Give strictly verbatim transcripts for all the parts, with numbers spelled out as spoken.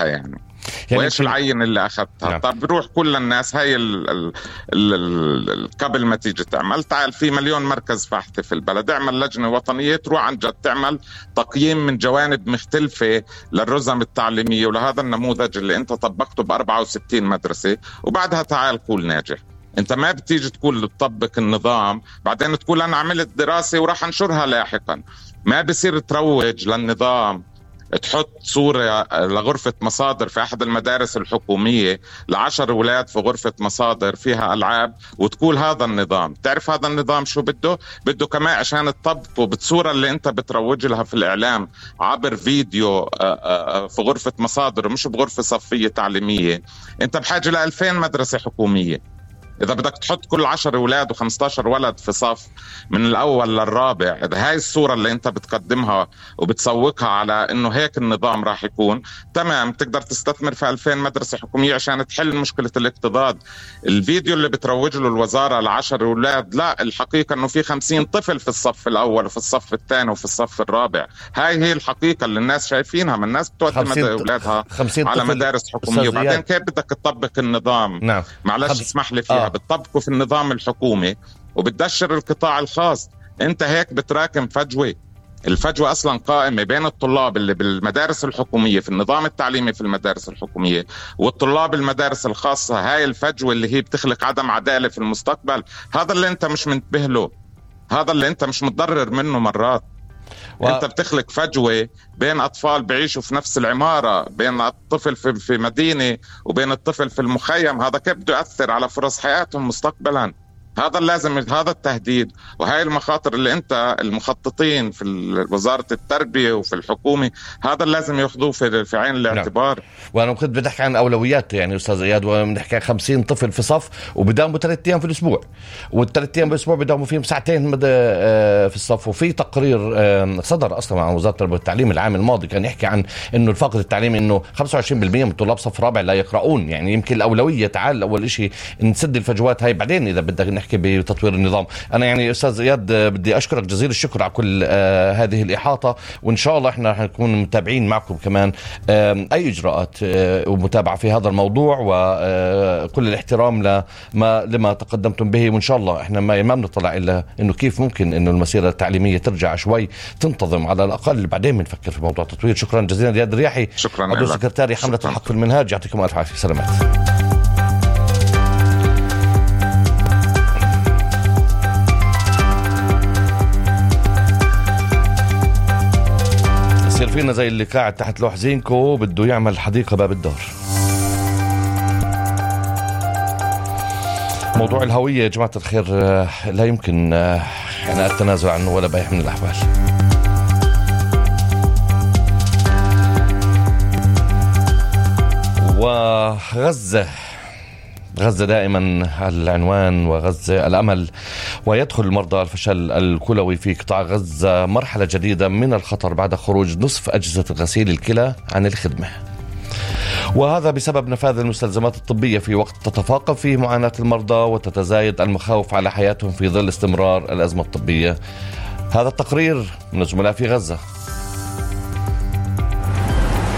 أخذتها يعني, يعني وإيش العين اللي أخذتها. نعم. طب بروح كل الناس هاي ال ال ال ال قبل ما تيجي تعمل, تعال في مليون مركز فحص في البلد, اعمل لجنة وطنية تروح عن جد تعمل تقييم من جوانب مختلفة للرزم التعليمية ولهذا النموذج اللي انت طبقته ب أربعة وستين مدرسة, وبعدها تعال قول ناجح. انت ما بتيجي تقول تطبق النظام بعدين تقول انا عملت دراسة وراح انشرها لاحقا. ما بصير تروج للنظام تحط صورة لغرفة مصادر في أحد المدارس الحكومية لعشر أولاد في غرفة مصادر فيها ألعاب وتقول هذا النظام. تعرف هذا النظام شو بده؟ بده كمان عشان تطبقه بالصورة اللي أنت بتروج لها في الإعلام عبر فيديو في غرفة مصادر ومش بغرفة صفية تعليمية. أنت بحاجة لألفين مدرسة حكومية. إذا بدك تحط كل عشر أولاد وخمستاشر ولد في صف من الأول للرابع, إذا هاي الصورة اللي أنت بتقدمها وبتسوقها على إنه هيك النظام راح يكون تمام, تقدر تستثمر في ألفين مدرسة حكومية عشان تحل مشكلة الاكتظاظ. الفيديو اللي بتروج له الوزارة لعشر أولاد, لا, الحقيقة إنه في خمسين طفل في الصف الأول وفي الصف الثاني وفي الصف الرابع. هاي هي الحقيقة اللي الناس شايفينها, من الناس بتودي أولادها على مدارس حكومية, وبعدين كيف بدك تطبق النظام؟ نعم. معلش اسمح لي فيها. آه. بتطبقه في النظام الحكومي وبتدشر القطاع الخاص. انت هيك بتراكم فجوة. الفجوة اصلا قائمة بين الطلاب اللي بالمدارس الحكومية في النظام التعليمي في المدارس الحكومية والطلاب المدارس الخاصة. هاي الفجوة اللي هي بتخلق عدم عدالة في المستقبل. هذا اللي انت مش منتبه له, هذا اللي انت مش متضرر منه مرات. و... انت بتخلق فجوة بين اطفال بعيشوا في نفس العمارة, بين الطفل في, في مدينة وبين الطفل في المخيم. هذا كيف بده يؤثر على فرص حياتهم مستقبلا؟ هذا اللازم, هذا التهديد وهاي المخاطر اللي انت المخططين في وزارة التربية وفي الحكومة هذا اللازم ياخذوه في, في عين الاعتبار. نعم. وانا كنت بدي احكي عن اولويات يعني استاذ اياد, وبنحكي عن خمسين طفل في صف وبداوموا ثلاث ايام في الاسبوع, والثلاث ايام بالاسبوع بداوموا فيهم ساعتين في الصف. وفي تقرير صدر اصلا عن وزارة التربية والتعليم العام الماضي كان يحكي عن انه الفقر التعليمي انه خمسة وعشرين بالمئة من طلاب صف رابع لا يقرؤون. يعني يمكن الاولوية تعال اول شيء نسد الفجوات هاي, بعدين اذا بدك نحكي بتطوير النظام. أنا يعني أستاذ إياد بدي أشكرك جزيل الشكر على كل آه هذه الإحاطة, وإن شاء الله إحنا حنكون متابعين معكم كمان آه أي إجراءات آه ومتابعة في هذا الموضوع, وكل الاحترام لما لما تقدمتم به. وإن شاء الله إحنا ما ما بنطلع إلا إنه كيف ممكن إنه المسيرة التعليمية ترجع شوي تنتظم على الأقل, بعدين بنفكر في موضوع التطوير. شكرا جزيلا إياد الرياحي, شكرا عضو سكرتاري حملة الحق في المنهاج. يعطيكم ألف عافية. سلامات. فينا زي اللي قاعد تحت لوح زينكو بده يعمل حديقة باب الدار. موضوع الهوية يا جماعة الخير لا يمكن يعني التنازل عنه ولا بأي من الأحوال. وغزة غزة دائما العنوان, وغزة الأمل, ويدخل المرضى الفشل الكلوي في قطاع غزة مرحلة جديدة من الخطر بعد خروج نصف أجهزة غسيل الكلى عن الخدمة, وهذا بسبب نفاذ المستلزمات الطبية في وقت تتفاقم فيه معاناة المرضى وتتزايد المخاوف على حياتهم في ظل استمرار الأزمة الطبية. هذا التقرير من الزملاء في غزة.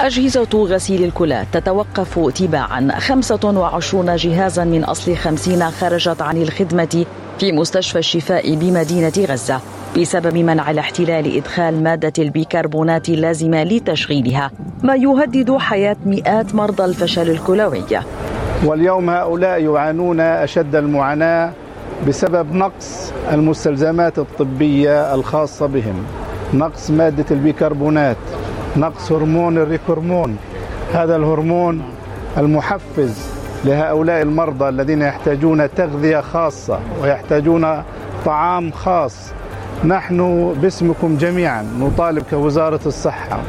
أجهزة غسيل الكلى تتوقف تباعا. خمسة وعشرين جهازا من أصل خمسين خرجت عن الخدمة في مستشفى الشفاء بمدينة غزة بسبب منع الاحتلال إدخال مادة البيكربونات اللازمة لتشغيلها, ما يهدد حياة مئات مرضى الفشل الكلوي. واليوم هؤلاء يعانون أشد المعاناة بسبب نقص المستلزمات الطبية الخاصة بهم, نقص مادة البيكربونات, نقص هرمون الريكورمون, هذا الهرمون المحفز لهؤلاء المرضى الذين يحتاجون تغذية خاصة ويحتاجون طعام خاص. نحن باسمكم جميعا نطالب كوزارة الصحة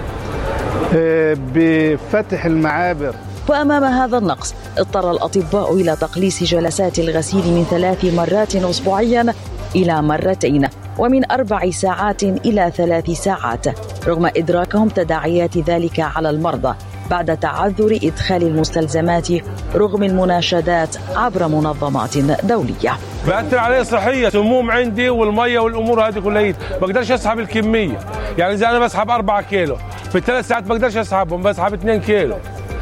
بفتح المعابر. وأمام هذا النقص اضطر الأطباء إلى تقليص جلسات الغسيل من ثلاث مرات أسبوعيا إلى مرتين, ومن أربع ساعات إلى ثلاث ساعات, رغم إدراكهم تداعيات ذلك على المرضى بعد تعذر إدخال المستلزمات رغم المناشدات عبر منظمات دولية. بأثر عليه صحية, سموم عندي والمية والأمور هذه كلها, بقدرش أسحب الكمية. يعني إذا أنا بسحب أربعة كيلو في ثلاث ساعات بقدرش أسحبهم, بسحب اثنين كيلو.